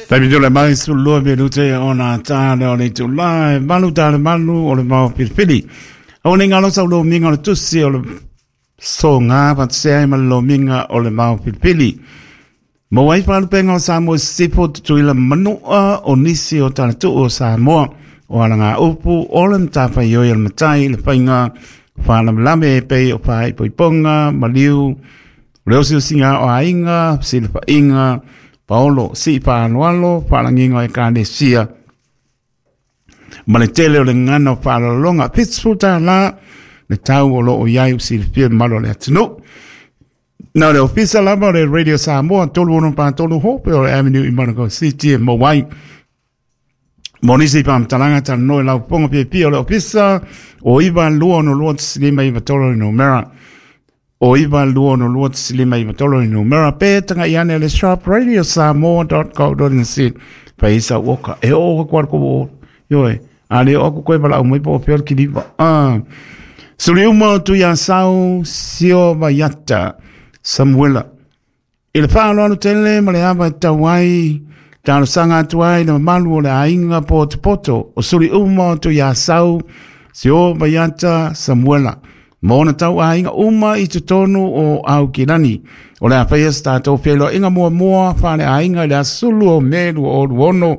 Taimi tole mai 12 minute ona tā leo le itulā e malu tā le malu o le mau pilipili. O ne ngalo sau lo minga o le tusi o le so ngā patsea i ma le lomiga o le mau pilipili. Mo ai whalupenga o Samoa Sisifo tutuila manua o nisi o talatuu o Samoa o ala ngā upu o le matawhaioi o le matai le whainga whalamalame e pei o whaipoiponga, maliu, o le osiosiga o aiga, fesilafaiga, paolo, sii faaaloalo, faalagiga o ekalesia, ma le tele o le gagana o faaaloaloga. $70 le tau o lo o i ai ua silafia e le mamalu o le atunuu. Na o le ofisa lava o le Radio Samoa 363 Hope o le Avenue i Manukau City e maua ai. Mo nisi faamatalaga talanoa i lau fofoga fiafia o le ofisa o 926 593 le numera o 926 593 le numera pe tagai ane le shop radiosamoa.co.nz fai sau oka e oo aku ala ko ioe a le oo aku koe valaau mai po o fea le kiliva ah. Suli uma o Tuiasau Sio Vaiata Samuela I le faaaloalo tele ma le ava e tatau ai, talosaga atu ai le mamalu o le aiga potopoto o suli uma o Tuiasau, Sio Vaiata Samuela, ma ona tauaiga uma i totonu o Aukilani. O le a faia se tatou feiloaiga muamua faaleaiga i le aso 10 o Me 2026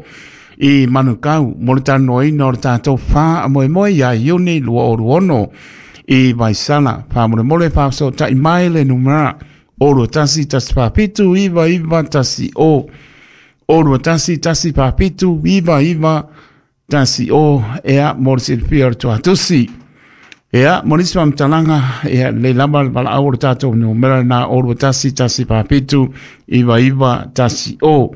i Manukau mo le talanoaina o le tatou faamoemoe ia Iuni 2026 i Vaisala. Faamolemole faafesootai mai le numera o 21 147 99 10 o 21 147 99 10 ea mo le silafia o le tuatusi. Ea, mo nisi faamatalaga, ea, lelei lava le valaau o le tatou numera lena o 21 147 99 10.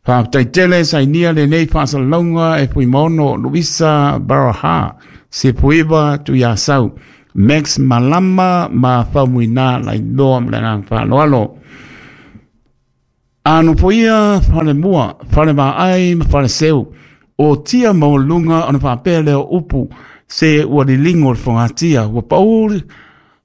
Faafetai tele sainia lenei faasalalauga e Fuimaono Luisa Baraha, Sepuiva Tuiasau, Max Malama ma Faumuina Lailoa ma le agaga faaaloalo. A nofoia Falemua, Falevaai ma Faleseu, o tia maualuluga ona faapea lea o upu, se ua liligo le fogatia, ua pau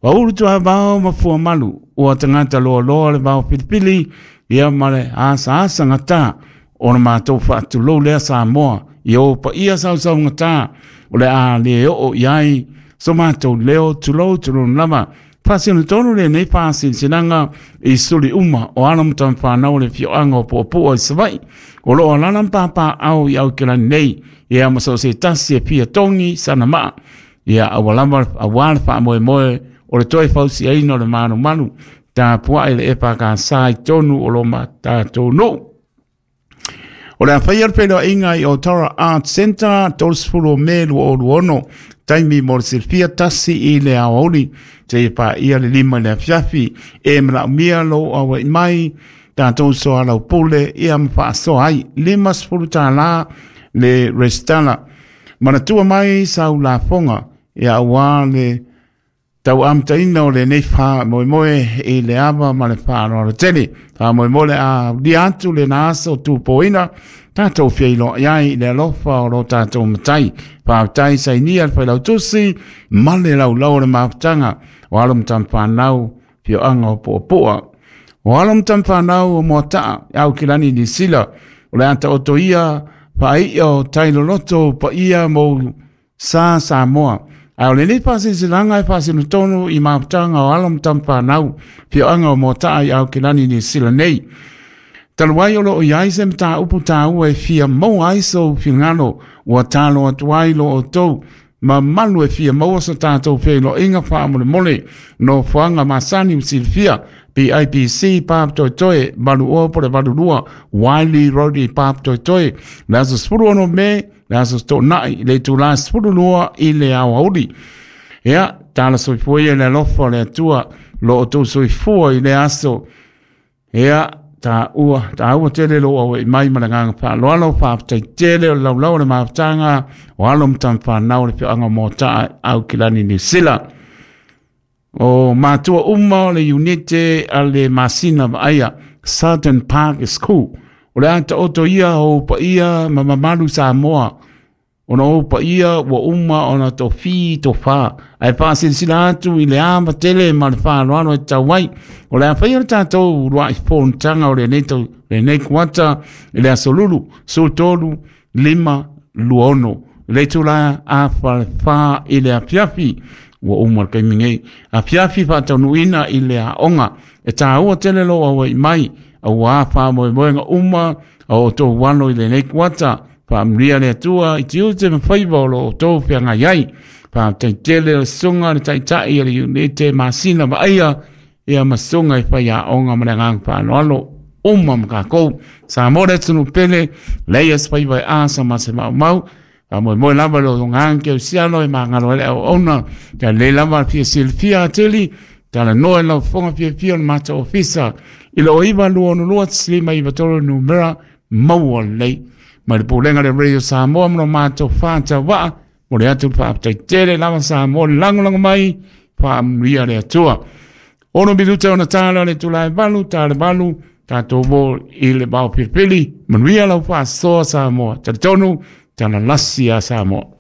Ua ulu tuavao ma fuamalu, ua tagata loaloa le vao filifili, ia ma le asaasa gata o le matou faatulou lea Samoa, i ou paia sausaugata, o le a le oo i ai so matou leo, tulou tulou lava. Faasino tonu lenei faasilasilaga i suli uma o alo ma tamafanau o le afioaga o Puapua i Savaii, o lo o alaala ma papaaao i Aukilani nei, ia ma so o se tasi e fia togi sana maa. Ia aua lava aua le faamoemoe o le toe fausiaina o le malumalu tapuai le EFKS i tonu o lo tatou nuu. O le a faia le feiloaiga i Otara Art Centre 30 o Me 2026, taimi mo le silafia tasi i le aoauli seia paia le 5 i le afiafi. E manaomia lou auai mai tatou soalaupule ia ma faasoa ai $50 le resitala. Manatua mai sau lafoga ia aua le tau amataina o lenei faamoemoe i le ava ma le faaaloalo tele. Faamoemoe le a ulia atu lena aso tupoina tatou feiloai ai i le alofa o lo tatou Matai. Faafetai sainia le Failautusi ma le laulau o le mafutaga o alo ma tamafanau afioaga o Puapua. O alo ma tamafanau o Moataa, Aukilani Niu Sila, o le a taoto ia faaia o tai loloto paia mo sa Samoa. A o lenei faasilasilaga e faasino tonu i mafutaga o alo ma tamafanau afioaga o Moataa i Aukilani Niu Sila nei. Talu ai o lo o i ai se mataupu taua e fia maua ai sou finagalo, ua talo atu ai lo outou mamalu e fia maua so tatou feiloaiga faamolemole nofoaga masani ua silafia PIPC Papatoetoe 80 po o le 82 Wiley Road i Papatoetoe le aso 16 Me le aso Toonai i le itula 12 i le aoauli. Ia, tala soifua ia i le alofa o le Atua lo outou soifua i le aso. Ia, taua, taua tele lou auai mai ma le agaga faaaloalo, faafetai tele o le laulau o le mafutaga o alo ma tamafanau o le afioaga o Moataa Aukilani Niu Sila. O matua uma o le iunite a le masina vaaia Southern Park School. O le a taoto ia o paia ma mamalu Samoa. Ona o ou paia ua uma ona tofi tofa, ae faasilasila atu i le ava tele ma le faaaloalo e tatau ai. O le a faia le tatou uluai fonotaga o lenei tau, lenei kuata i le aso Lulu 13 5 26 i le itula 3:30 i le afiafi. Ua uma le taimi nei. Afiafi faataunuuina i le aoga. E taua tele lou auai mai, auā faamoemoega uma a o outou alo i lenei kuata. Faamanuia le Atua i tiute ma faiva o lo outou feagai ai. Faafetai tele o le susuga le taitai o le iunite masina vaaia ia ma susuga i faiaoga ma le agaga faaaloalo uma ma tatou. Samoa le atunuu pele, leai se faiva e asa ma se maumau. Faamoemoe lava i lo agaga kerisiano e magalo ai le auauna. Ia lelei lava le fia silafia atili, talanoa i lau fofoga fiafia o le matou ofisa i le 0962 593 numera maua lelei. Mai le Pulega le Radio Samoa ma lo matou whātawaa, mo le atu le faafetai tele lava Samoa le lagolago mai, faamanuia le Atua. 6 minuta ona tala le itula e 8, tala 8, tatou mo i le vaofilifili, manuia lau faasoa Samoa. Talitonu, talalasi a Samoa.